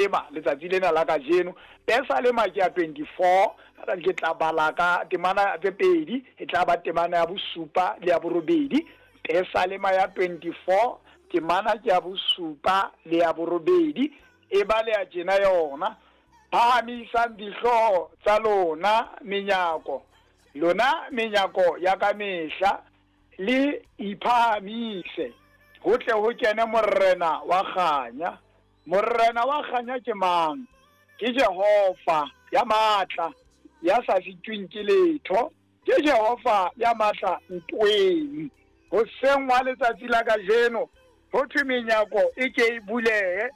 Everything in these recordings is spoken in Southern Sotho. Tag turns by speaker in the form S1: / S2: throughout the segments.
S1: Ema letsatsi lena la kajeno. Pesalema ke ya 24, ke tla bala ka temana tse pedi, e tla ba temana ya bosupa le ya borobedi. Pesalema ya 24, temana ke ya bosupa le ya borobedi, e baleha tjena yona, Phahamisang dihlooho tsa lona menyako, lona menyako ya ka mehla, le iphahamise, ho tle ho kene Morena wa kganya. Morena wa kganya ke mang? Ke Jehova ya matla, ya sa sitweng ke letho. Ke Jehova ya matla ntweng. Hoseng hwa letsatsi la kajeno, ho thwe menyako e ke e bulehe,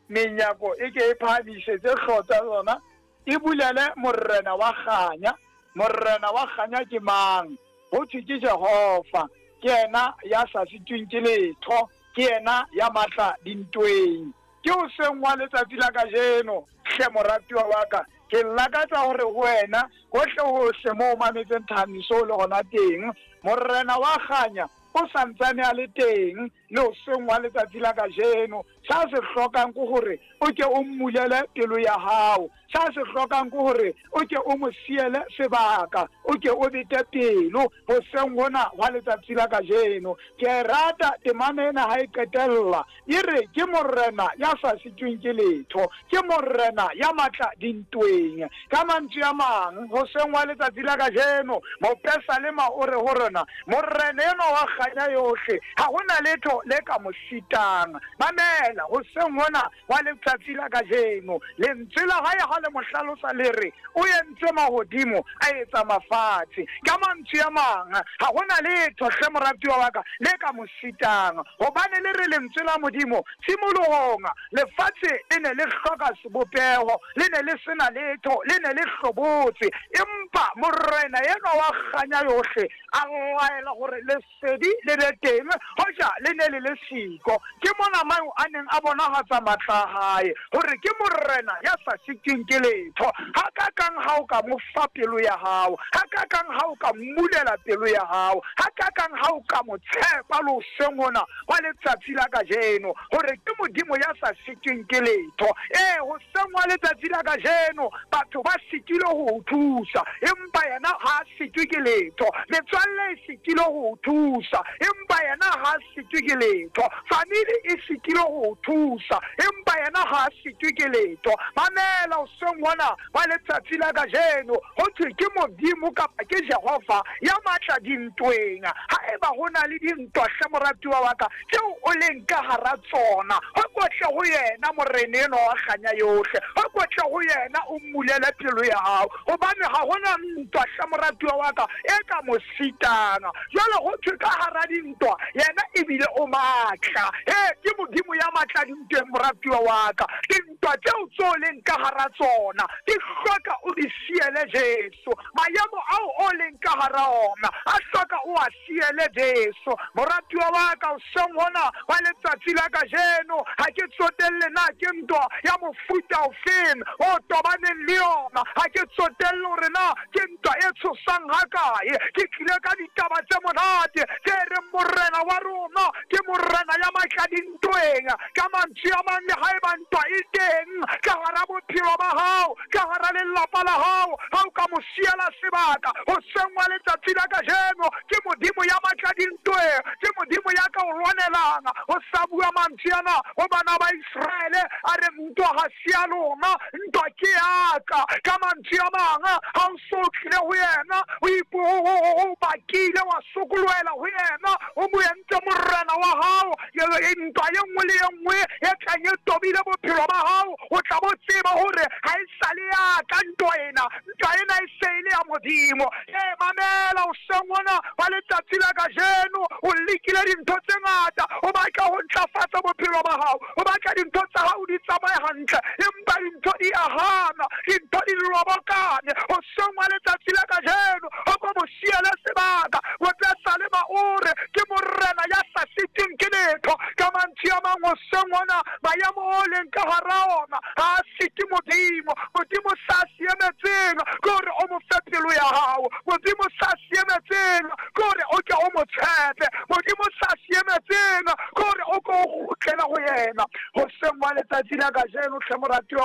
S1: menyako e ke e phahamisetse hlooho tsa yona, e bulele Morena wa kganya. Morena wa kganya ke mang? Ho thwe ke Jehova, ke yena ya sa sitweng ke letho. Ke yena ya matla dintweng. Ke hoseng hwa letsatsi la kajeno, hle moratuwa wa ka, ke lakatsa hore ho wena, hohle-hohle moo o mametseng thahamiso o le hona teng, Morena wa kganya o sa ntsane a le teng le hoseng hwa letsatsi la kajeno. Sa se hlokang ke hore o ke o mmulele pelo ya hao. Sa se hlokang ke hore o ke o mo siele sebaka, o ke o bete pelo hoseng hona hwa letsatsi la kajeno. Ke a e rata temana ena ha e qetella, e re, Ke Morena ya sa sitweng ke letho, ke Morena ya matla dintweng. Ka mantswe a mang, hoseng hwa letsatsi la kajeno, mopesalema o re ho rona, Morena enwa wa kganya yohle, ha ho na letho le ka mo sitang. Mamela, hoseng hona wa letsatsi la kajeno. Lentswe la hae ha le mo hlalosa le re, O entse mahodimo, a etsa mafatshe. Ka mantswe a mang, ha ho na letho, hle moratuwa wa ka, le ka mo sitang. Hobane le re lentswe la Modimo, tshimolohong, lefatshe le ne le hloka sebopeho, le ne le se na letho, le ne le hlobotse. Empa Morena enwa wa kganya yohle a laela hore le Sedi le be teng, hoja le ne le le siko. Ke mona moo a neng a bonahatsa matla a hae, hore ke Morena ya sa sitweng ke letho. Hakakang ha o ka mo fa pelo ya hao! Hakakang ha o ka mmulela pelo ya hao! Hakakang ha o ka mo tshepa le hoseng hona hwa letsatsi la kajeno, hore ke Modimo ya sa sitweng ke letho! Ee, hoseng hwa letsatsi la kajeno, batho ba sitilwe ho o thusa, empa yena ha a sitwe ke letho. Metswalle e sitilwe ho o thusa, empa yena ha a sitwe ke letho. Famili e sitilwe ho o thusa, empa yena ha a sitwe ke letho. Mamela hoseng hona hwa letsatsi la kajeno, ho thwe ke Modimo kapa ke Jehova ya matla dintweng. Haeba ho na le dintwa, hle moratuwa wa ka, tseo o leng ka hara tsona, ho ko tle ho yena Morena enwa wa kganya yohle, ho ko tle ho yena o mmulele pelo ya hao, gobane ga go na ntwa, hle moratuwa wa ka, e ka mo sitang. Jwale go thwe ka hara dintwa, yena ebile o matla. He, ke Modimo ya matla dintweng, moratuwa wa ka. Dintwa tseo tse o leng ka hara tsona di hloka o di siele Jesu. Maemo ao o leng ka hara ona a hloka o a siele Jesu. Moratuwa wa ka, hoseng hona wa letsatsi la kajeno, ha ke tsotelle na ke ntwa ya mofuta ofeng o tobaneng le yona, ha ke tsotelle hore na ke ntwa e tshosang hakae, ke tlile ka ditaba tse monate tse reng Morena wa rona ke Morena ya matla dintweng. Ka mantswe a mang, le haeba ntwa e teng ka hara bophelo ba hao, ka hara lelapa la hao, ha o ka mo siela sebaka hoseng wa letsatsi la kajeno, ke Modimo ya matla dintweng, ke Modimo ya ka o lwanelang. Ho sa bua mantswe ana ho bana ba Iseraele, a re, Ntwa ha se ya lona, ntwa ke ya ka. Ka mantswe a mang, ha o so tlile ho yena, o bakile, wa sokolohela ho yena, o mo entse morena wa hao, ntwa ye nngwe le ye nngwe e tlang e tobile bophelo ba hao, o tla bo tseba hore ha e sa le ya ka ntwa ena, ntwa ena e se e le ya Modimo. Ee, mamela hoseng hona wa letsatsi la kajeno, o lekile dintho tse ngata, o batla ho ntlafatsa bophelo ba hao, o batla dintho tsa hao di tsamaye hantle, empa dintho di a hana, dintho di lobokane. Hoseng wa letsatsi la kajeno, o ko mo siele sebaka. Mopesalema o re, Ke Morena ya sa sitweng ke letho. Ka mantswe a mang, hoseng hona, maemo o leng ka hara ona ha a site Modimo. Modimo sa se emetseng ke hore o mo fe pelo ya hao. Modimo sa se emetseng ke hore o ke o mo tshepe. Modimo sa se emetseng ke hore o ke o kgutlele ho yena. Hoseng wa letsatsi. Letsatsi la kajeno tlhe moratiwa.